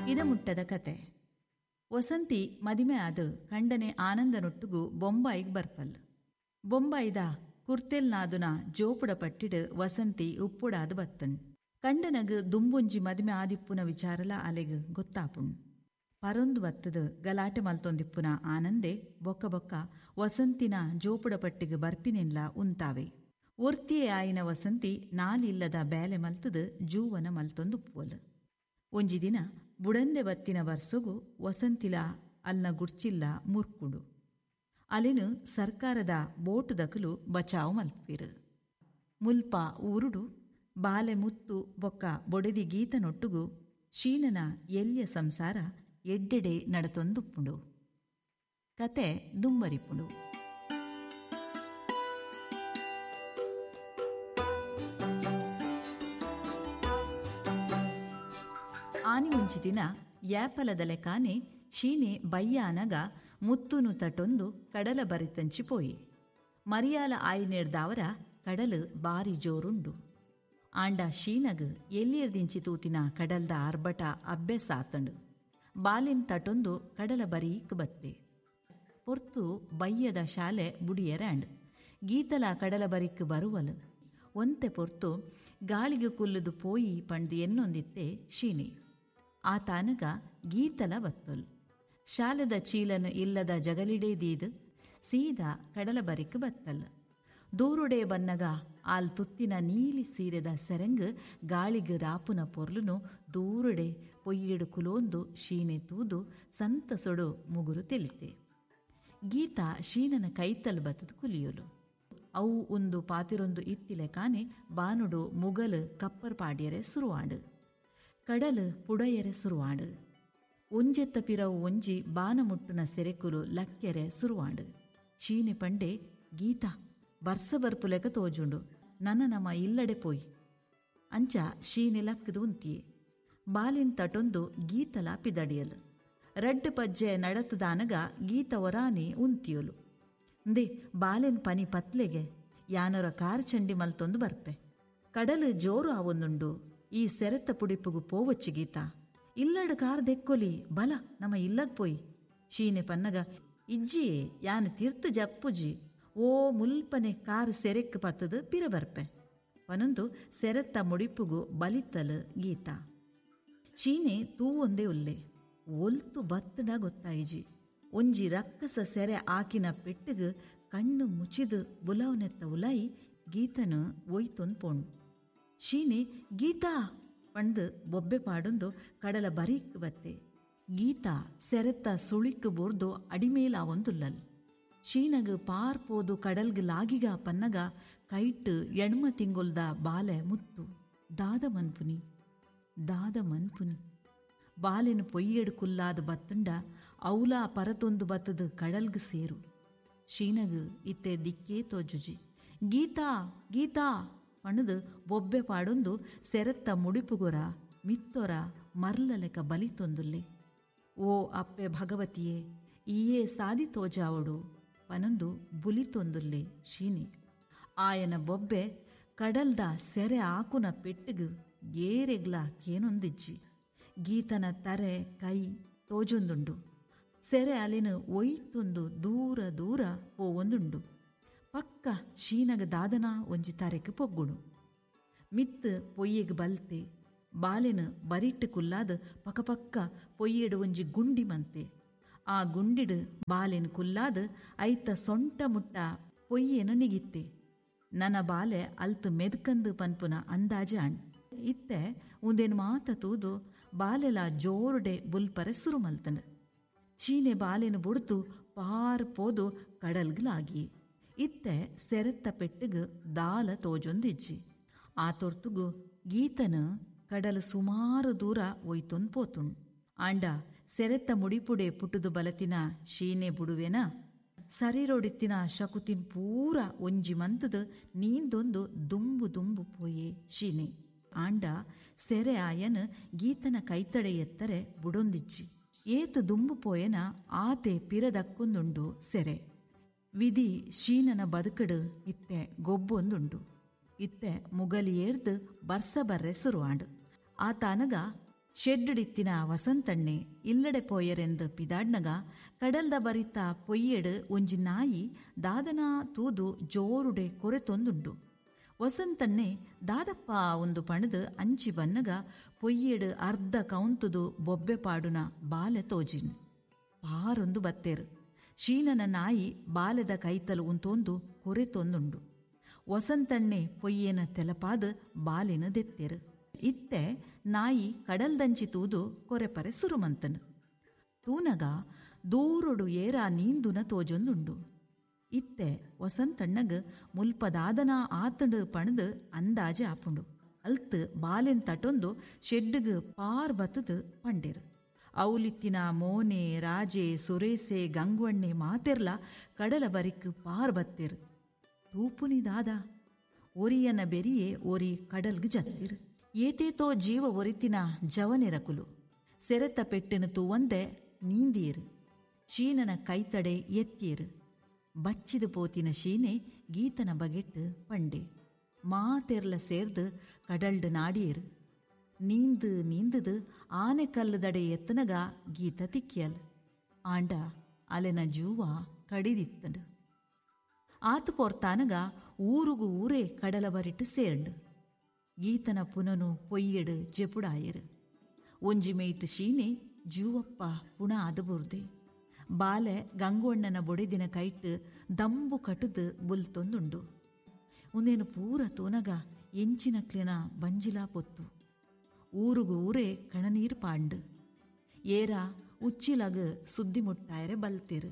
ಇದಮುಟ್ಟದ ಕತೆ. ವಸಂತಿ ಮದಿಮೆ ಆದ್ ಕಂಡನೆ ಆನಂದನೊಟ್ಟುಗು ಬೊಂಬಾಯಿಗ್ ಬರ್ಪಲ್. ಬೊಂಬಾಯಿದ ಕುರ್ತೆಲ್ನಾದುನ ಜೋಪುಡ ಪಟ್ಟಿಡ್ ವಸಂತಿ ಉಪ್ಪುಡಾದ್ ಬತ್ತಣ್. ಕಂಡನಗ್ ದುಂಬೊಂಜಿ ಮದಿಮೆ ಆದಿಪ್ಪುನ ವಿಚಾರಲ ಅಲೆಗ್ ಗೊತ್ತಾಪುಂಡು. ಪರೊಂದು ಬತ್ತದ್ ಗಲಾಟೆ ಮಲ್ತೊಂದಿಪ್ಪುನ ಆನಂದೆ ಬೊಕ್ಕ ಬೊಕ್ಕ ವಸಂತಿನ ಜೋಪುಡ ಪಟ್ಟಿಗ್ ಬರ್ಪಿನೆನ್ಲ ಉಂತಾವೆ. ಒರ್ತಿಯೇ ಆಯಿನ ವಸಂತಿ ನಾಲಿಲ್ಲದ ಬೇಲೆ ಮಲ್ತದ್ ಜೂವನ ಮಲ್ತೊಂದುಪ್ಪುವಲ್. ಒಂಜಿ ದಿನ ಬುಡಂದೆ ಬತ್ತಿನ ವರ್ಸೊಗು ವಸಂತಿಲ ಅಲ್ನ ಗುಡ್ಚಿಲ್ಲ ಮುರ್ಕುಂಡು. ಅಲೆನ್ ಸರ್ಕಾರದ ಬೋಟುದಕುಲು ಬಚಾವ್ ಮಲ್ಪುವೆರ್. ಮುಲ್ಪ ಊರುಡು ಬಾಲೆ ಮುತ್ತು ಬೊಕ್ಕ ಬೊಡೆದಿ ಗೀತನೊಟ್ಟುಗು ಶೀನನ ಎಲ್ಯ ಸಂಸಾರ ಎಡ್ಡೆಡೆ ನಡತೊಂದುಪ್ಪುಂಡು. ಕತೆ ದುಂಬರಿಪುಂಡು. ಆನಿ ಒಂಜಿ ದಿನ ಯಾಪಲದ ಲೆಕಾನೆ ಶೀನೆ ಬಯ್ಯಾನಗ ಮುತ್ತುನು ತಟೊಂದು ಕಡಲ ಬರಿತಂಚಿ ಪೋಯಿ. ಮರಿಯಾಲ ಆಯಿನೆಡ್ದಾವರ ಕಡಲು ಬಾರಿ ಜೋರುಂಡು. ಆಂಡ ಶೀನಗ್ ಎಲ್ಲಿಯರ್ದಿಂಚಿ ತೂತಿನ ಕಡಲ್ದ ಆರ್ಭಟ ಅಭ್ಯಾಸ ಆತಂಡು. ಬಾಲಿನ್ ತಟೊಂದು ಕಡಲ ಬರೀಕ್ ಬತ್ತೆ. ಪೊರ್ತು ಬಯ್ಯದ ಶಾಲೆ ಬುಡಿಯರಾಂಡ್. ಗೀತಲ ಕಡಲ ಬರಿಕ್ ಬರುವಲು. ಒಂತೆ ಪೊರ್ತು ಗಾಳಿಗೆ ಕುಲ್ಲುದು ಪೋಯಿ ಪಂಡ್ದು ಎನ್ನೊಂದಿತ್ತೆ ಶೀನೆ. ಆತಾನಗ ಗೀತಲ ಬತ್ತೊಲ್. ಶಾಲೆದ ಚೀಲನು ಇಲ್ಲದ ಜಗಲಿಡೇ ದೀದ್ ಸೀದಾ ಕಡಲ ಬರಿಕ್ ಬತ್ತಲ್. ದೂರುಡೆ ಬನ್ನಗ ಆಲ್ ತುತ್ತಿನ ನೀಲಿ ಸೀರೆದ ಸೆರಂಗ್ ಗಾಳಿಗ್ ರಾಪುನ ಪೊರ್ಲುನು ದೂರುಡೆ ಪೊಯ್ಯೆಡು ಕುಲೋಂದು ಶೀನೆ ತೂದು ಸಂತಸೊಡು ಮುಗುರು ತೆಲಿತೆ. ಗೀತಾ ಶೀನನ ಕೈತಲ್ ಬತ್ತದು ಕುಲಿಯೊಲು. ಅವು ಉಂದು ಪಾತಿರೊಂದು ಇತ್ತಿಲೆ ಕಾನೆ ಬಾನುಡು ಮುಗಲು ಕಪ್ಪರ್ ಪಾಡ್ಯರೆ ಸುರುವಾಂಡು. ಕಡಲು ಪುಡಯರೆ ಸುರುವಾಂಡು. ಒಂಜೆತ್ತ ಪಿರವು ಒಂಜಿ ಬಾನ ಮುಟ್ಟುನ ಸೆರೆಕುಲು ಲಕ್ಕೆರೆ ಸುರುವಾಂಡು. ಶೀನೆ ಪಂಡೆ, ಗೀತಾ ಬರ್ಸ ಬರ್ಪುಲೆಕ ತೋಜುಂಡು, ನನ ನಮ ಇಲ್ಲಡೆ ಪೋಯಿ. ಅಂಚ ಶೀನೆ ಲಕ್ಕದು ಉಂತಿಯೆ. ಬಾಲಿನ್ ತಟೊಂದು ಗೀತಲ ಪಿದಡಿಯಲು. ರಡ್ಡ್ ಪಜ್ಜೆ ನಡತದಾನಗ ಗೀತ ಒರಾನೆ ಉಂತಿಯೊಲು. ಅಂದೆ ಬಾಲೆನ್ ಪನಿ ಪತ್ಲೆಗೆ ಯಾನೊರ ಕಾರ್ ಚಂಡಿ ಮಲ್ತೊಂದು ಬರ್ಪೆ. ಕಡಲು ಜೋರು ಆವೊಂದುಂಡು, ಈ ಸೆರೆತ್ತ ಪುಡಿಪುಗು ಪೋವಚ್ಚಿ ಗೀತಾ. ಇಲ್ಲಡ್ ಕಾರ್ ದೆಕ್ಕೊಲಿ, ಬಲ ನಮ ಇಲ್ಲಗ್ ಪೋಯಿ. ಶೀನೆ ಪನ್ನಗ, ಇಜ್ಜಿಯೇ ಯಾನ್ ತೀರ್ತು ಜಪ್ಪುಜಿ, ಓ ಮುಲ್ಪನೆ ಕಾರ್ ಸೆರೆಕ್ ಪತ್ತದು ಪಿರ ಬರ್ಪೆ ಪನೊಂದು ಸೆರೆತ್ತ ಮುಡಿಪುಗು ಬಲಿತಲು ಗೀತಾ. ಶೀನೆ ತೂವೊಂದೇ ಉಲ್ಲೆ. ಒಲ್ತು ಬತ್ತಡ ಗೊತ್ತಾಯಿಜಿ. ಒಂಜಿ ರಕ್ಕಸ ಸೆರೆ ಆಕಿನ ಪೆಟ್ಟುಗು ಕಣ್ಣು ಮುಚಿದು ಬುಲವನೆತ್ತ ಉಲಾಯಿ ಗೀತನು ಒಯ್ತೊಂದು ಪೋಣ್. ಶೀನೆ ಗೀತಾ ಪಂದು ಬೊಬ್ಬೆ ಪಾಡೊಂದು ಕಡಲ ಬರೀಕ್ ಬತ್ತೆ. ಗೀತಾ ಸೆರೆತ್ತ ಸುಳಿಕ್ ಬೋರ್ದು ಅಡಿಮೇಲಾವೊಂದುಲ್ಲಲ್. ಶೀನಗ್ ಪಾರ್ ಪೋದು ಕಡಲ್ಗ್ ಲಾಗಿಗ ಪನ್ನಗ ಕೈಟ್ ಎಣ್ಮ ತಿಂಗೊಲ್ದ ಬಾಲೆ ಮುತ್ತು. ದಾದ ಮನ್ಪುನಿ, ದಾದ ಮನ್ಪುನಿ. ಬಾಲೆನು ಪೊಯ್ಯೆಡು ಕುಲ್ಲಾದ ಬತ್ತಂಡ ಔಲಾ ಪರತೊಂದು ಬತ್ತದು ಕಡಲ್ಗ್ ಸೇರು. ಶೀನಗ್ ಇತ್ತೆ ದಿಕ್ಕೇ ತೋಜುಜಿ. ಗೀತಾ ಗೀತಾ ಪಣದು ಬೊಬ್ಬೆ ಪಾಡೊಂದು ಸೆರೆತ್ತ ಮುಡಿಪುಗೊರ ಮಿತ್ತೊರ ಮರ್ಲಲೆಕ ಬಲಿತೊಂದುಲ್ಲೆ. ಓ ಅಪ್ಪೆ ಭಗವತಿಯೇ, ಈಯೇ ಸಾದಿ ತೋಜಾವಡು ಪನೊಂದು ಬುಲಿತೊಂದುಲ್ಲೆ ಶೀನೆ. ಆಯನ ಬೊಬ್ಬೆ ಕಡಲ್ದ ಸೆರೆ ಆಕುನ ಪೆಟ್ಟುಗು ಏರೆಗ್ಲ ಕೇನೊಂದಿಜ್ಜಿ. ಗೀತನ ತರೆ ಕೈ ತೋಜೊಂದುಂಡು. ಸೆರೆ ಅಲೆನು ಒಯ್ತೊಂದು ದೂರ ದೂರ ಪೋವೊಂದುಂಡು. ಪಕ್ಕ ಶೀನಗ ದಾದನ ಒಂಜಿ ತರೆಕ್ ಪೊಗ್ಗುಡು. ಮಿತ್ತು ಪೊಯ್ಯೆಗ್ ಬಲ್ತೆ. ಬಾಲೆನು ಬರಿಟ್ಟು ಕುಲ್ಲಾದ್ ಪಕಪಕ್ಕ ಪೊಯ್ಯೆಡು ಒಂಜಿ ಗುಂಡಿ ಮಂತೆ. ಆ ಗುಂಡಿಡು ಬಾಲೆನು ಕುಲ್ಲಾದ್ ಐತ ಸೊಂಟ ಮುಟ್ಟ ಪೊಯ್ಯೆನು ನಿಗಿತ್ತೆ. ನನ್ನ ಬಾಲೆ ಅಲ್ತು ಮೆದ್ಕಂದು ಪನ್ಪುನ ಅಂದಾಜೆ ಅಣ್. ಇತ್ತೆ ಉಂದೇನು ಮಾತ ತೂದು ಬಾಲೆಲ ಜೋರುಡೆ ಬುಲ್ಪರೆ ಸುರು ಮಲ್ತಂಡು. ಚೀನೆ ಬಾಲೆನು ಬುಡ್ತು ಪಾರ್ ಪೋದು ಕಡಲ್ಗ್ಲಾಗಿ. ಇತ್ತೆ ಸೆರೆತ್ತ ಪೆಟ್ಟುಗು ದಾಲ ತೋಜೊಂದಿಜ್ಜಿ. ಆ ತೊರ್ತುಗು ಗೀತನು ಕಡಲು ಸುಮಾರು ದೂರ ಒಯ್ತೊಂದು ಪೋತುಂಡು. ಆಂಡ ಸೆರೆತ್ತ ಮುಡಿಪುಡೆ ಪುಟ್ಟುದು ಬಲತಿನ ಶೀನೆ ಬುಡುವೆನ ಸರಿರೊಡಿತ್ತಿನ ಶಕುತಿನ್ ಪೂರ ಒಂಜಿ ಮಂತದ ನೀಂದೊಂದು ದುಂಬು ದುಂಬು ಪೋಯೆ ಶೀನೆ. ಆಂಡ ಸೆರೆ ಆಯನ ಗೀತನ ಕೈತಡೆ ಎತ್ತರೆ ಬುಡೊಂದಿಜ್ಜಿ. ಏತು ದುಂಬು ಪೋಯನ ಆತೆ ಪಿರದಕ್ಕೊಂದುಂಡು ಸೆರೆ. ವಿಧಿ ಶೀನನ ಬದುಕಡು ಇತ್ತೆ ಗೊಬ್ಬೊಂದುಂಡು. ಇತ್ತೆ ಮುಗಲಿಯೇರ್ದು ಬರ್ಸ ಬರ್ರೆ ಸುರುವಾಂಡು. ಆತಾನಗ ಶೆಡ್ಡಿತ್ತಿನ ವಸಂತಣ್ಣೆ ಇಲ್ಲಡೆ ಪೋಯರೆಂದು ಪಿದಾಡ್ನಗ ಕಡಲ್ದ ಬರಿತ ಪೊಯ್ಯೆಡು ಒಂಜಿ ನಾಯಿ ದಾದನ ತೂದು ಜೋರುಡೆ ಕೊರೆತೊಂದುಂಡು. ವಸಂತಣ್ಣೆ ದಾದಪ್ಪ ಒಂದು ಪಣದು ಅಂಚಿ ಬನ್ನಗ ಪೊಯ್ಯೆಡು ಅರ್ಧ ಕೌಂತುದು ಬೊಬ್ಬೆ ಪಾಡುನ ಬಾಲೆ ತೋಜಿನ್. ಪಾರೊಂದು ಬತ್ತೇರು. ಶೀನನ ನಾಯಿ ಬಾಲೆದ ಕೈತಲು ಉಂತೊಂದು ಕೊರೆತೊಂದುಂಡು. ವಸಂತಣ್ಣೆ ಪೊಯ್ಯೇನ ತೆಲಪಾದ ಬಾಲೆನ ದೆತ್ತೇರು. ಇತ್ತೆ ನಾಯಿ ಕಡಲ್ದಂಚಿ ತೂದು ಕೊರೆಪರೆ ಸುರುಮಂತನು. ತೂನಗ ದೂರೊಡು ಏರ ನೀಂದುನ ತೋಜೊಂದುಂಡು. ಇತ್ತೆ ವಸಂತಣ್ಣಗ್ ಮುಲ್ಪದಾದನ ಆತಂಡು ಪಣದು ಅಂದಾಜೆ ಆಪುಂಡು. ಅಲ್ತ್ ಬಾಲೆನ್ ತಟೊಂದು ಶೆಡ್ಡುಗ್ ಪಾರ್ ಬತ್ತದು ಪಂಡೇರು. ಔಲಿತ್ತಿನ ಮೋನೆ ರಾಜೆ ಸುರೇಸೆ ಗಂಗ್ವಣ್ಣೆ ಮಾತೆರ್ಲ ಕಡಲ ಬರಿಕ್ ಪಾರ್ ಬತ್ತೇರು. ತೂಪುನಿ ದಾದ ಒರಿಯನ ಬೆರಿಯೇ ಒರಿ ಕಡಲ್ಗ್ ಜತ್ತಿರು. ಏತೇತೋ ಜೀವ ಒರಿತಿನ ಜವನೆರಕುಲು ಸೆರೆತ ಪೆಟ್ಟಿನ ತೂವಂದೆ ನೀಂದಿಯರು. ಶೀನನ ಕೈತಡೆ ಎತ್ತಿಯರು. ಬಚ್ಚಿದು ಪೋತಿನ ಶೀನೆ ಗೀತನ ಬಗೆಟ್ಟು ಪಂಡೆ. ಮಾತೆರ್ಲ ಸೇರ್ದು ಕಡಲ್ಡು ನಾಡಿಯರು. ನೀಂದು ನೀಂದುದು ಆನೆ ಕಲ್ಲುದಡೆ ಎತ್ತನಗ ಗೀತ ತಿಕ್ಕಿಯಲ್. ಆಂಡ ಅಲೆನ ಜೂವ ಕಡಿದಿತ್ತಂಡು. ಆತು ಪೋರ್ತಾನಗ ಊರುಗು ಊರೇ ಕಡಲ ಬರಿಟ್ಟು ಸೇರ್ಂಡು. ಗೀತನ ಪುನನು ಪೊಯ್ಯೆಡು ಜೆಪುಡಾಯರು. ಒಂಜಿ ಮೇಯ್ತು ಶೀನೆ ಜೂವಪ್ಪ ಪುಣ ಆದಬುರ್ದೆ. ಬಾಲೆ ಗಂಗೋಣ್ಣನ ಬೊಡೆದಿನ ಕೈಟ್ಟು ದಂಬು ಕಟುದು ಬುಲ್ತೊಂದುಂಡು. ಉಂದೇನು ಪೂರ ತೂನಗ ಎಂಚಿನಕ್ಲೆನ ಬಂಜಿಲಾ ಪೊತ್ತು. ಊರುಗು ಊರೇ ಕಣನೀರು ಪಾಂಡು. ಏರ ಉಚ್ಚಿಲಗ್ ಸುದ್ದಿ ಮುಟ್ಟಾಯರೆ ಬಲ್ತಿರು.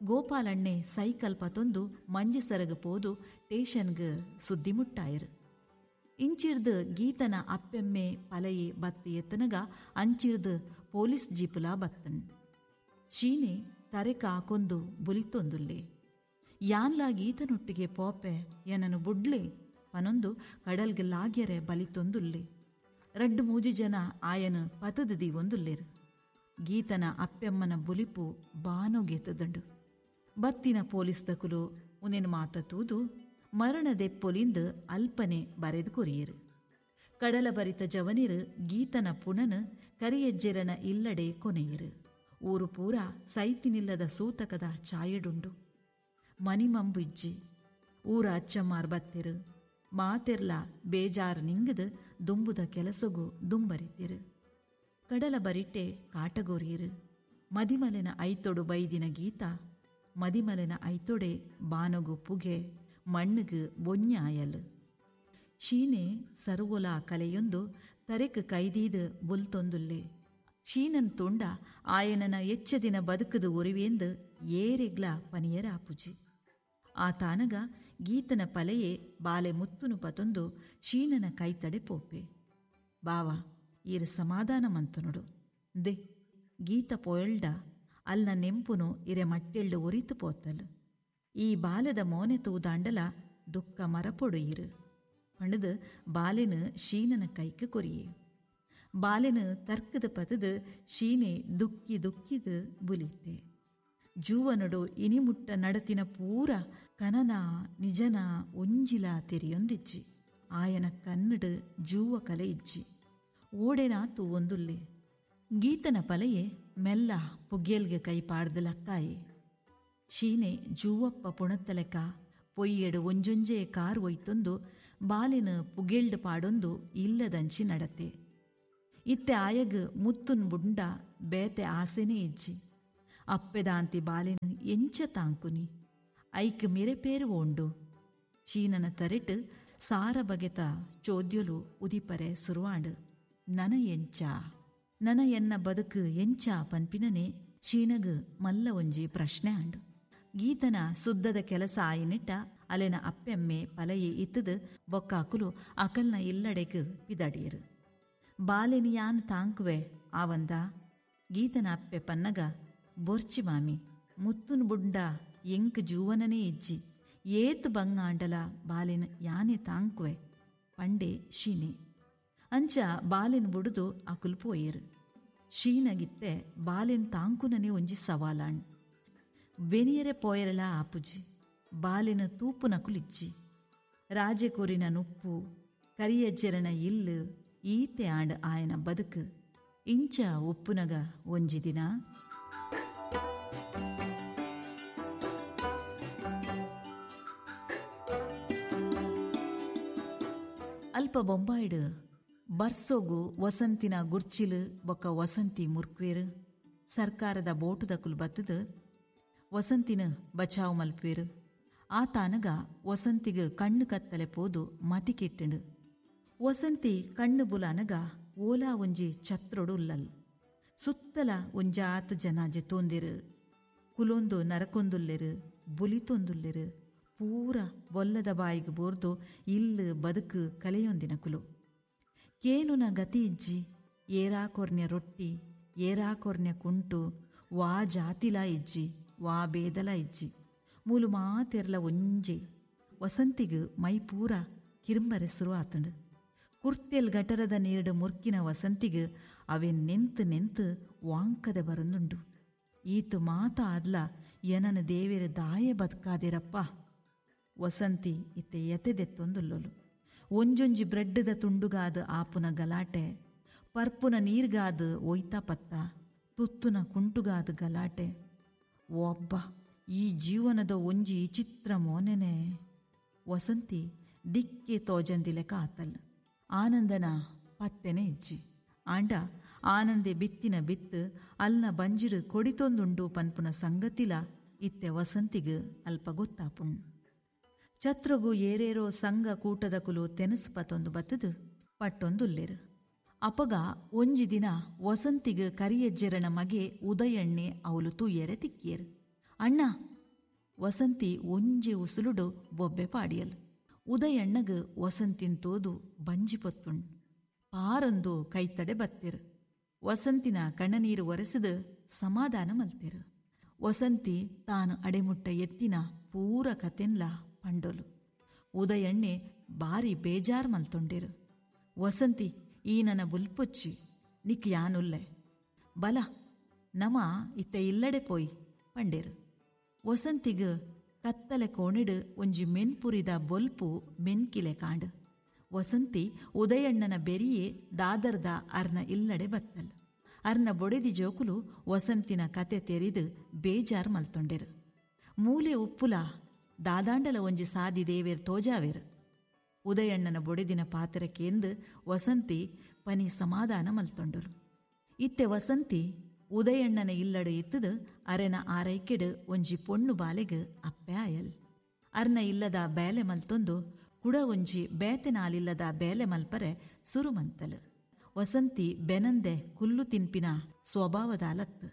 ಗೋಪಾಲಣ್ಣೆ ಸೈಕಲ್ ಪತೊಂದು ಮಂಜಸರಗ್ ಪೋದು ಟೇಷನ್ಗ್ ಸುದ್ದಿ ಮುಟ್ಟಾಯರು. ಇಂಚಿರ್ದು ಗೀತನ ಅಪ್ಪೆಮ್ಮೆ ಪಲಯೆ ಬತ್ತಿ ಎತ್ತನಗ ಅಂಚಿರ್ದು ಪೊಲೀಸ್ ಜೀಪುಲಾ ಬತ್ತನ್. ಶೀನೆ ತರೆಕ ಹಾಕೊಂದು ಬುಲಿತೊಂದುಲ್ಲೆ. ಯಾನ್ಲಾ ಗೀತನೊಟ್ಟಿಗೆ ಪೋಪೆ ಏನನು ಬುಡ್ಲೆ ಪನೊಂದು ಕಡಲ್ಗೆ ಲಾಗ್ಯರೆ ಬಲಿತೊಂದುಲ್ಲೆ. ರಡ್ಡು ಮೂಜಿ ಜನ ಆಯನು ಪತದ ದೀವೊಂದುಲ್ಲೇರು. ಗೀತನ ಅಪ್ಪೆಮ್ಮನ ಬುಲಿಪು ಬಾನೋಗೆತ್ತದಂಡು. ಬತ್ತಿನ ಪೊಲೀಸ್ ದಕುಲು ಉನೇನು ಮಾತ ತೂದು ಮರಣದೆಪ್ಪೊಲಿಂದು ಅಲ್ಪನೆ ಬರೆದು ಕೊರಿಯರು. ಕಡಲ ಬರಿತ ಜವನಿರು ಗೀತನ ಪುಣನು ಕರಿಯಜ್ಜೆರನ ಇಲ್ಲಡೆ ಕೊನೆಯರು. ಊರು ಪೂರ ಸೈತಿನಿಲ್ಲದ ಸೂತಕದ ಛಾಯೆಡುಂಡು. ಮನಿಮಂಬು ಇಜ್ಜಿ. ಊರ ಅಚ್ಚಮ್ಮಾರ್ ಬತ್ತಿರು. ಮಾತೆರ್ಲ ಬೇಜಾರು ನಿಂಗದು ದುಂಬುದ ಕೆಲಸಗೂ ದುಂಬರಿತಿರು. ಕಡಲ ಬರಿಟ್ಟೆ ಕಾಟಗೋರಿಯರು. ಮದಿಮಲೆನ ಐತೊಡು ಬೈದಿನ ಗೀತ ಮದಿಮಲೆನ ಐತೊಡೆ ಬಾನಗು ಪುಗೆ ಮಣ್ಣುಗು ಬೊನ್ಯಾಯಲು. ಶೀನೆ ಸರ್ವೊಲ ಕಲೆಯೊಂದು ತರೆಕ್ ಕೈದೀದು ಬುಲ್ತೊಂದುಲ್ಲೆ. ಶೀನನ್ ತುಂಡ ಆಯನನ ಎಚ್ಚದಿನ ಬದುಕದು ಒರಿವೆಂದು ಏರೆಗ್ಲ ಪನಿಯರ ಆಪುಜಿ. ಆ ತಾನಗ ಗೀತನ ಪಲೆಯೇ ಬಾಲೆ ಮುತ್ತುನು ಪತೊಂದು ಶೀನನ ಕೈತಡೆ ಪೋಪೆ. ಬಾವ ಈರು ಸಮಾಧಾನ ಮಂತನುಡು ದೆ ಗೀತ ಪೊಯಲ್ಡ ಅಲ್ನ ನೆಂಪುನು ಇರೆ ಮಟ್ಟೆಳ್ಳು ಒರಿತು ಪೋತಲು. ಈ ಬಾಲೆದ ಮೋನೆ ತೂದಾಂಡಲ ದುಃಖ ಮರಪೊಡು ಇರು ಪಣದು ಬಾಲೆನು ಶೀನನ ಕೈக்கு ಕೊರಿಯೆ. ಬಾಲೆನು ತರ್ಕದ ಪತದು ಶೀನೆ ದುಕ್ಕಿ ದುಕ್ಕಿದು ಬುಲಿತೆ. ಜೂವನಡು ಇನಿಮುಟ್ಟ ನಡತಿನ ಪೂರ ಕನನ ನಿಜನ ಒಂಜಿಲ ತೆರಿಯೊಂದಿಜ್ಜಿ. ಆಯನ ಕನ್ನಡು ಜೂವ ಕಲೆ ಇಜ್ಜಿ. ಓಡೆನಾ ತೂವೊಂದುಲ್ಲೆ. ಗೀತನ ಪಲೆಯೆ ಮೆಲ್ಲ ಪುಗ್ಗೆಲ್ಗೆ ಕೈ ಪಾಡ್ದು ಲಕ್ಕಾಯೆ. ಶೀನೆ ಜೂವಪ್ಪ ಪುಣತ್ತಲೆಕ ಪೊಯ್ಯೆಡು ಒಂಜೊಂಜೆ ಕಾರ್ ಒಯ್ತೊಂದು ಬಾಲಿನ ಪುಗೆಲ್ಡು ಪಾಡೊಂದು ಇಲ್ಲದಂಚಿ ನಡತೆ. ಇತ್ತೆ ಆಯಗ್ ಮುತ್ತುನ್ ಬುಂಡ ಬೇತೆ ಆಸೆನೇ ಇಜ್ಜಿ. ಅಪ್ಪೆದಾಂತಿ ಬಾಲಿನ ಎಂಚ ತಾಂಕುನಿ ಐಕ್ ಮಿರೆಪೇರು ಓಂಡು. ಶೀನನ ತರೆಟ್ ಸಾರ ಬಗೆತ ಚೋದ್ಯಲು ಉದಿಪರೆ ಸುರುವಾಂಡು. ನನ ಎಂಚ ನನ ಎನ್ನ ಬದುಕು ಎಂಚ ಪನ್ಪಿನನೆ ಶೀನಗ್ ಮಲ್ಲ ಒಂಜಿ ಪ್ರಶ್ನೆ ಆಂಡು. ಗೀತನ ಸುದ್ದದ ಕೆಲಸ ಆಯಿನಿಟ್ಟ ಅಲೆನ ಅಪ್ಪೆಮ್ಮೆ ಪಲಯೆ ಇತ್ತದು ಬೊಕ್ಕಾಕುಲು ಅಕಲ್ನ ಇಲ್ಲಡೆಗ್ ಪಿದಡಿಯರು. ಬಾಲೆನಿಯಾನ್ ತಾಂಕುವೆ ಆವಂದ ಗೀತನ ಅಪ್ಪೆ ಪನ್ನಗ ಬೊರ್ಚಿ ಮಾಮಿ ಮುತ್ತುನ್ ಬುಂಡ ಎಂಕ್ ಜೂವನನೇ ಇಜ್ಜಿ ಏತ್ ಬಂಗಾಂಡಲ ಬಾಲೆನ ಯಾನೆ ತಾಂಕುವೆ ಪಂಡೆ ಶೀನೆ. ಅಂಚ ಬಾಲೆನ್ ಬುಡುದು ಅಕುಲ್ ಪೋಯೇರು. ಶೀನಗಿತ್ತೆ ಬಾಲೆನ್ ತಾಂಕುನನೆ ಒಂಜಿ ಸವಾಲಾಣ್. ಬೆನಿಯರೆ ಪೋಯರಲ ಆಪುಜಿ ಬಾಲೆನ ತೂಪುನಕುಲಿಜ್ಜಿ. ರಾಜೆ ಕೊರಿನ ನುಪ್ಪು ಕರಿಯಜ್ಜೆರನ ಇಲ್ಲು ಈತೆ ಆಂಡ್ ಆಯನ ಬದುಕು. ಇಂಚ ಉಪ್ಪುನಗ ಒಂಜಿ ದಿನ ಅಲ್ಪ ಬೊಂಬಾಯಿಡ್ ಬರ್ಸೋಗು ವಸಂತಿನ ಗುರ್ಚಿಲು ಬೊಕ್ಕ ವಸಂತಿ ಮುರ್ಕ್ವೇರು ಸರ್ಕಾರದ ಬೋಟುದಕುಲು ಬತ್ತದು ವಸಂತಿನ ಬಚಾವ್ ಮಲ್ಪೇರು. ಆ ತಾನಗ ವಸಂತಿಗೆ ಕಣ್ಣು ಕತ್ತಲೆ ಪೋದು ಮತಿ ಕೆಟ್ಟಂಡು. ವಸಂತಿ ಕಣ್ಣು ಬುಲಾನಗ ಓಲಾ ಒಂಜಿ ಛತ್ರೊಡು ಉಲ್ಲಲ್. ಸುತ್ತಲ ಒಂಜಾತ್ ಜನ ಜೆತೋಂದಿರು, ಕುಲೊಂದು ನರಕೊಂದುಲ್ಲೆರು, ಬುಲಿತೊಂದುಲ್ಲೆರು, ಪೂರ ಬೊಲ್ಲದ ಬಾಯಿಗೆ ಬೋರ್ದು ಇಲ್ಲು ಬದುಕು ಕಲೆಯೊಂದಿನ ಕುಲು. ಕೇನುನ ಗತಿ ಇಜ್ಜಿ, ಏರಾಕೊರ್ನ್ಯ ರೊಟ್ಟಿ, ಏರಾಕೊರ್ನ್ಯ ಕುಂಟು, ವಾ ಜಾತಿಲ ಇಜ್ಜಿ, ವಾ ಬೇದಲ ಇಜ್ಜಿ, ಮೂಲು ಮಾತೆರ್ಲ ಒಂಜೆ. ವಸಂತಿಗ್ ಮೈ ಪೂರ ಕಿರಂಬರೆ ಸುರು ಆತಂಡು. ಕುರ್ತೆಲ್ ಗಟರದ ನೀರ್ಡು ಮುರ್ಕಿನ ವಸಂತಿಗ್ ಅವೆನ್ ನೆಂತು ನೆಂತು ವಾಂಕದ ಬರಂದುಂಡು. ಈತು ಮಾತ ಆದ್ಲ ಎನನ ದೇವೆರ ದಾಯ ಬದುಕಾದಿರಪ್ಪ. ವಸಂತಿ ಇತ್ತೆ ಎತೆದೆತ್ತೊಂದುಲ್ಲೊಲು. ಒಂಜೊಂಜಿ ಬ್ರೆಡ್ಡದ ತುಂಡುಗಾದ ಆಪುನ ಗಲಾಟೆ, ಪರ್ಪುನ ನೀರ್ಗಾದ ಒಯ್ತಾ ಪತ್ತ, ತುತ್ತುನ ಕುಂಟುಗಾದ ಗಲಾಟೆ. ಒಬ್ಬ ಈ ಜೀವನದ ಒಂಜಿ ಚಿತ್ರ ಮೋನೆನೆ. ವಸಂತಿ ದಿಕ್ಕೆ ತೋಜಂದಿಲೆಕ ಆತಲ್. ಆನಂದನ ಪತ್ತೆನೆ ಇಜ್ಜಿ. ಆಂಡ ಆನಂದೆ ಬಿತ್ತಿನ ಬಿತ್ತು ಅಲ್ನ ಬಂಜಿಡು ಕೊಡಿತೊಂದುಂಡು ಪನ್ಪುನ ಸಂಗತಿಲ ಇತ್ತೆ ವಸಂತಿಗ್ ಅಲ್ಪ ಗೊತ್ತಾಪುಣ್. ಛತ್ರಗು ಏರೇರೋ ಸಂಘ ಕೂಟದ ಕುಲು ತೆನಸ್ ಪತೊಂದು ಬತ್ತದು ಪಟ್ಟೊಂದುಲ್ಲೇರು. ಅಪಗ ಒಂಜಿ ದಿನ ವಸಂತಿಗ್ ಕರಿಯಜ್ಜೆರನ ಮಗೆ ಉದಯಣ್ಣೆ ಅವಲು ತೂಯೆರೆ ತಿಕ್ಕಿಯರು. ಅಣ್ಣ ವಸಂತಿ ಒಂಜಿ ಉಸುಲುಡು ಬೊಬ್ಬೆ ಪಾಡಿಯಲ್. ಉದಯಣ್ಣಗ್ ವಸಂತಿನ್ ತೋದು ಬಂಜಿ ಪೊತ್ತುಣ್. ಪಾರಂದು ಕೈತಡೆ ಬತ್ತಿರು. ವಸಂತಿನ ಕಣ್ಣನೀರು ಒರೆಸಿದು ಸಮಾಧಾನ ಮಲ್ತಿರು. ವಸಂತಿ ತಾನು ಅಡೆಮುಟ್ಟ ಎತ್ತಿನ ಪೂರ ಕತೆನ್ಲ ಪಂಡೋಲು. ಉದಯಣ್ಣೆ ಬಾರಿ ಬೇಜಾರ್ ಮಲ್ತೊಂಡಿರು. ವಸಂತಿ ಈ ನನ್ನ ಬುಲ್ಪೊಚ್ಚಿ ನಿಕ್ ಯಾನುಲ್ಲೆ ಬಲ ನಮ ಇತ್ತ ಇಲ್ಲಡೆ ಪೋಯ್ ಪಂಡೇರು. ವಸಂತಿಗ್ ಕತ್ತಲೆ ಕೋಣಿಡು ಒಂಜಿ ಮೆನ್ಪುರಿದ ಬೊಲ್ಪು ಮೆನ್ಕಿಲೆ ಕಾಂಡು. ವಸಂತಿ ಉದಯಣ್ಣನ ಬೆರಿಯೇ ದಾದರ್ದ ಅರ್ನ ಇಲ್ಲಡೆ ಬತ್ತಲ್. ಅರ್ನ ಬೊಡೆದಿ ಜೋಕುಲು ವಸಂತಿನ ಕತೆ ತೆರಿದು ಬೇಜಾರ್ ಮಲ್ತೊಂಡೆರು. ಮೂಲೆ ಉಪ್ಪುಲ ದಾದಾಂಡಲ ಒಂಜಿ ಸಾದಿ ದೇವೇರ್ ತೋಜಾವೇರು. ಉದಯಣ್ಣನ ಬೊಡೆದಿನ ಪಾತ್ರಕ್ಕೇಂದು ವಸಂತಿ ಪನಿ ಸಮಾಧಾನ ಮಲ್ತೊಂಡರು. ಇತ್ತೆ ವಸಂತಿ ಉದಯಣ್ಣನ ಇಲ್ಲಡು ಇತ್ತದು ಅರೆನ ಆರೈಕೆಡು ಒಂಜಿ ಪೊಣ್ಣು ಬಾಲೆಗ್ ಅಪ್ಪೆ ಆಯಲ್. ಅರ್ನ ಇಲ್ಲದ ಬೇಲೆ ಮಲ್ತೊಂದು ಕುಡ ಒಂಜಿ ಬೇತೆನಾಲಿಲ್ಲದ ಬೇಲೆ ಮಲ್ಪರೆ ಸುರುಮಂತಲು. ವಸಂತಿ ಬೆನಂದೆ ಕುಲ್ಲು ತಿನ್ಪಿನ ಸ್ವಭಾವದ ಅಲತ್ತು.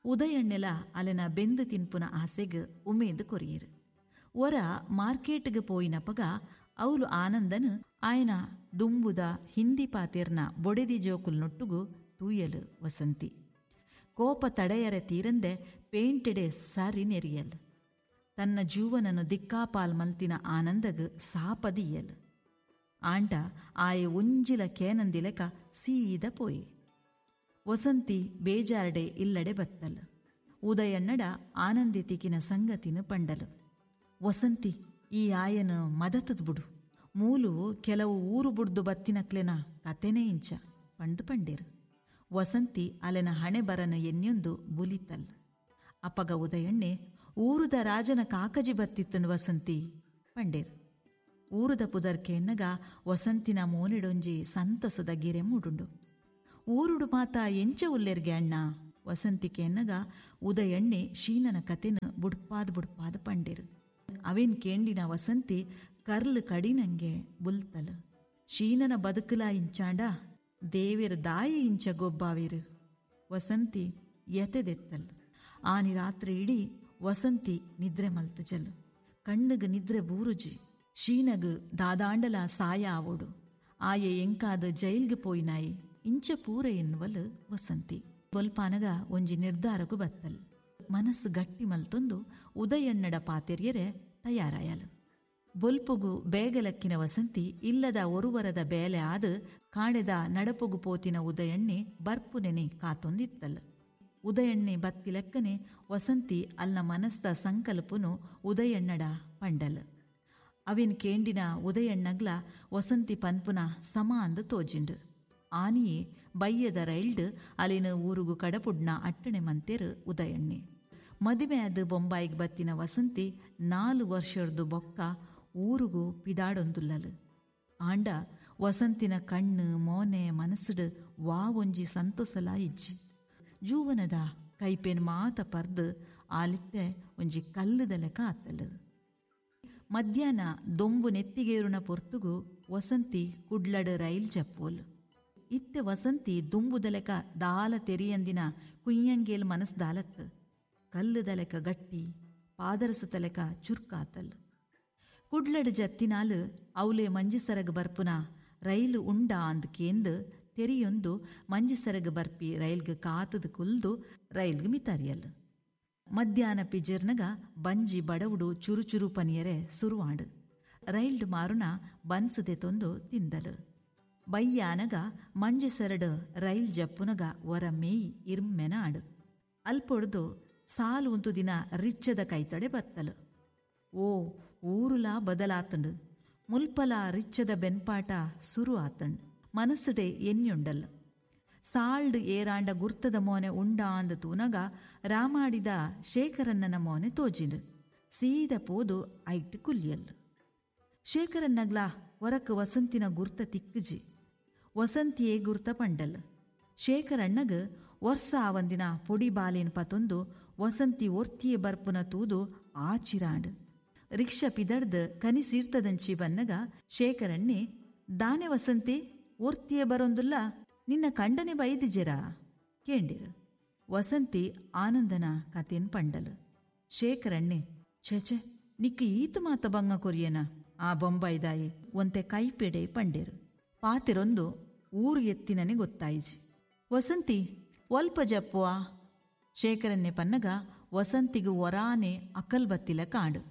ಉದಯಣ್ಣೆಲ ಅಲೆನ ಬೆಂದು ತಿನ್ಪುನ ಆಸೆಗ್ ಉಮೇದು ಕೊರಿಯರು. ಒರ ಮಾರ್ಕೆಟ್ಗೆ ಪೋಯಿನಪಗ ಅವಲು ಆನಂದನು ಆಯನ ದುಂಬುದ ಹಿಂದಿ ಪಾತಿರ್ನ ಬೊಡೆದಿ ಜೋಕುಲ್ ನೊಟ್ಟುಗು ತೂಯಲು ವಸಂತಿ. ಕೋಪ ತಡೆಯರೆ ತೀರಂದೆ ಪೇಂಟೆಡೆ ಸಾರಿ ನೆರಿಯಲ್. ತನ್ನ ಜೀವನನು ದಿಕ್ಕಾಪಾಲ್ ಮಲ್ತಿನ ಆನಂದಗ್ ಸಾಪದಿಯಲ್. ಆಂಡ ಆಯೆ ಒಂಜಿಲ ಕೇನಂದಿಲೆಕ ಸೀದ ಪೋಯಿ. ವಸಂತಿ ಬೇಜಾರ್ಡೆ ಇಲ್ಲಡೆ ಬತ್ತಲ್. ಉದಯಣ್ಣಡ ಆನಂದಿ ತಿಕಿನ ಸಂಗತಿನ ಪಂಡಲು. ವಸಂತಿ ಈ ಆಯನ ಮದತದ್ ಬುಡು, ಮೂಲು ಕೆಲವು ಊರು ಬುಡ್ದು ಬತ್ತಿನಕ್ಲೆನ ಕತೆನೇ ಇಂಚ ಪಂಡು ಪಂಡೇರು. ವಸಂತಿ ಅಲೆನ ಹಣೆ ಬರನ ಎನ್ಯೊಂದು ಬುಲಿತಲ್. ಅಪಗ ಉದಯಣ್ಣೆ ಊರುದ ರಾಜನ ಕಾಕಜಿ ಬತ್ತಿತ್ತನು ವಸಂತಿ ಪಂಡೇರು. ಊರುದ ಪುದರ್ಕೆ ಎನ್ನಗ ವಸಂತಿನ ಮೋನೆಡೊಂಜಿ ಸಂತಸದ ಗಿರೆ ಮೂಡುಂಡು. ಊರುಡು ಮಾತ ಎಂಚ ಉಲ್ಲೆರ್ಗೆ ಅಣ್ಣ ವಸಂತಿಕೆ ಎನ್ನಗ ಉದಯಣ್ಣೆ ಶೀನನ ಕತೆನ ಬುಡ್ಪಾದ್ ಬುಡ್ಪಾದ್ ಪಂಡೇರು. ಅವೇನ್ ಕೇಂಡಿನ ವಸಂತಿ ಕರ್ಲು ಕಡಿನಂಗೆ ಬುಲ್ತಲ್. ಶೀನನ ಬದುಕಲ ಇಂಚಾಂಡ ದೇವೇರ್ ದಾಯಿ ಇಂಚ ಗೊಬ್ಬಾವೇರು. ವಸಂತಿ ಎತೆದೆತ್ತಲ್. ಆನಿ ರಾತ್ರಿ ಇಡೀ ವಸಂತಿ ನಿದ್ರೆ ಮಲ್ತಜಲ್. ಕಣ್ಣುಗ್ ನಿದ್ರೆ ಬೂರುಜಿ. ಶೀನಗ್ ದಾದಾಂಡಲ ಸಾಯ ಆವೋಡು. ಆಯೆ ಎಂಕಾದ ಜೈಲ್ಗೆ ಪೋಯಿನಾಯಿ ಇಂಚ ಪೂರ ಎನ್ನುವಲ್ ವಸಂತಿ. ಬೊಲ್ಪಾನಗ ಒಂಜಿ ನಿರ್ಧಾರಕ್ಕೂ ಬತ್ತಲ್. ಮನಸ್ಸು ಗಟ್ಟಿ ಮಲ್ತೊಂದು ಉದಯಣ್ಣಡ ಪಾತೆರ್ಯರೆ ತಯಾರಾಯಲು. ಬೊಲ್ಪುಗು ಬೇಗಲಕ್ಕಿನ ವಸಂತಿ ಇಲ್ಲದ ಒರುವರದ ಬೇಲೆ ಆದ ಕಾಣೆದ ನಡಪುಗು ಪೋತಿನ ಉದಯಣ್ಣೆ ಬರ್ಪುನೆನೆ ಕಾತೊಂದಿತ್ತಲ್. ಉದಯಣ್ಣೆ ಬತ್ತಿಲೆಕ್ಕನೆ ವಸಂತಿ ಅಲ್ನ ಮನಸ್ದ ಸಂಕಲ್ಪನು ಉದಯಣ್ಣಡ ಪಂಡಲ್. ಅವಿನ್ ಕೇಂಡಿನ ಉದಯಣ್ಣಗ್ಲ ವಸಂತಿ ಪನ್ಪುನ ಸಮ ಅಂದು ತೋಜಿಂಡು. ಆನಿಯೇ ಬಯ್ಯದ ರೈಲ್ಡ್ ಅಲಿನ ಊರುಗು ಕಡಪುಡ್ನ ಅಟ್ಟಣೆ ಮಂತೇರು ಉದಯಣ್ಣೆ. ಮದಿಮೆ ಅದು ಬೊಂಬಾಯಿಗೆ ಬತ್ತಿನ ವಸಂತಿ 4 ವರ್ಷರ್ದು ಬೊಕ್ಕ ಊರುಗು ಪಿದಾಡೊಂದುಲ್ಲಲು. ಆಂಡ ವಸಂತಿನ ಕಣ್ಣು ಮೋನೆ ಮನಸ್ಸುಡು ವಾ ಒಂಜಿ ಸಂತೋಸಲ ಇಜ್ಜಿ. ಜೂವನದ ಕೈಪೇನ್ ಮಾತ ಪರ್ದು ಆಲಿತ್ತೆ ಒಂಜಿ ಕಲ್ಲುದಲೆಕ ಆತಲು. ಮಧ್ಯಾಹ್ನ ದೊಂಬು ನೆತ್ತಿಗೇರುನ ಪೊರ್ತುಗು ವಸಂತಿ ಕುಡ್ಲಡು ರೈಲ್ ಜಪ್ಪೋಲು. ಇತ್ತೆ ವಸಂತಿ ದುಂಬುದಲೆಕ ದಾಲ ತೆರಿಯಂದಿನ ಕುಯ್ಯಂಗೇಲ್ ಮನಸ್ದಾಲತ್ತು. ಕಲ್ಲುದಲೆಕ ಗಟ್ಟಿ ಪಾದರಸತಲೆಕ ಚುರ್ಕಾತಲ್. ಕುಡ್ಲಡು ಜತ್ತಿನಾಲು ಅವಲೆ ಮಂಜಿಸರಗ್ ಬರ್ಪುನ ರೈಲು ಉಂಡ ಅಂದ್ ಕೇಂದು ತೆರಿಯೊಂದು ಮಂಜಿಸರಗ್ ಬರ್ಪಿ ರೈಲ್ಗ್ ಕಾತದು ಕುಲ್ದು ರೈಲ್ಗ್ ಮಿತರಿಯಲ್. ಮಧ್ಯಾಹ್ನ ಪಿಜರ್ನಗ ಬಂಜಿ ಬಡವುಡು ಚುರು ಚುರು ಪನಿಯರೆ ಸುರುವಾಡು. ರೈಲ್ಡ್ ಮಾರುನ ಬನ್ಸದೆ ತೊಂದು ತಿಂದಲು. ಬಯ್ಯಾನಗ ಮಂಜೆಸರಡು ರೈಲ್ ಜಪ್ಪುನಗ ಒರ ಮೇಯ್ ಇರ್ಮೆನ ಆಡು. ಅಲ್ಪೊಡ್ದು ಸಾಲು ಉಂತು ದಿನ ರಿಚ್ಚದ ಕೈತಡೆ ಬತ್ತಲು. ಓ ಊರುಲಾ ಬದಲಾತಂಡು, ಮುಲ್ಪಲ ರಿಚ್ಚದ ಬೆನ್ಪಾಟ ಸುರು ಆತಂಡ್. ಮನಸ್ಸುಡೆ ಎನ್ಯುಂಡಲ್. ಸಾಲ್ಡ್ ಏರಾಂಡ ಗುರ್ತದ ಮೋನೆ ಉಂಡಾಂದ ತೂನಗ ರಾಮಾಡಿದ ಶೇಖರನ್ನನ ಮೋನೆ ತೋಜಿಂಡು. ಸೀದ ಪೋದು ಐಟ್ ಕುಲ್ಯಲ್. ಶೇಖರನ್ನಗ್ಲಾ ಹೊರಕ್ ವಸಂತಿನ ಗುರ್ತ ತಿಕ್ಕುಜಿ. ವಸಂತಿಯೇ ಗುರ್ತ ಪಂಡಲ್. ಶೇಖರಣ್ಣಗ್ ವರ್ಷ ಆವಂದಿನ ಪೊಡಿ ಬಾಲೇನ್ ಪತೊಂದು ವಸಂತಿ ಒರ್ತಿಯೇ ಬರ್ಪುನ ತೂದು ಆಚಿರಾಂಡ್. ರಿಕ್ಷಾ ಪಿದಡ್ದು ಕನಿಸೀರ್ತದಂಚಿ ಬನ್ನಗ ಶೇಖರಣ್ಣೆ, ದಾನೆ ವಸಂತಿ ಒರ್ತಿಯೇ ಬರೊಂದುಲ್ಲ, ನಿನ್ನ ಕಂಡನೆ ಬೈದಿಜೆರಾ ಕೇಂಡಿರು. ವಸಂತಿ ಆನಂದನ ಕತೆನ್ ಪಂಡಲು. ಶೇಖರಣ್ಣೆ, ಛೇ ನಿಕ್ಕ ಈತ ಮಾತ ಬಂಗ ಕೊರಿಯನ ಆ ಬೊಂಬಾಯ್ದಾಯಿ ಒಂತೆ ಕೈಪೆಡೆ ಪಂಡೇರು. ಪಾತಿರೊಂದು ಊರು ಎತ್ತಿನನೆ ಗೊತ್ತಾಯಿಜಿ. ವಸಂತಿ ಒಲ್ಪ ಜಪ್ಪುವಾ ಶೇಖರನ್ನೆ ಪನ್ನಗ ವಸಂತಿಗು ಒರಾನೆ ಅಕಲ್ ಬತ್ತಿಲ ಕಾಡು.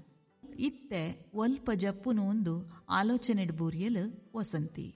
ಇತ್ತೆ ಒಲ್ಪ ಜಪ್ಪುನು ಒಂದು ಆಲೋಚನೆಡ್ ಬೂರಿಯಲು ವಸಂತಿ.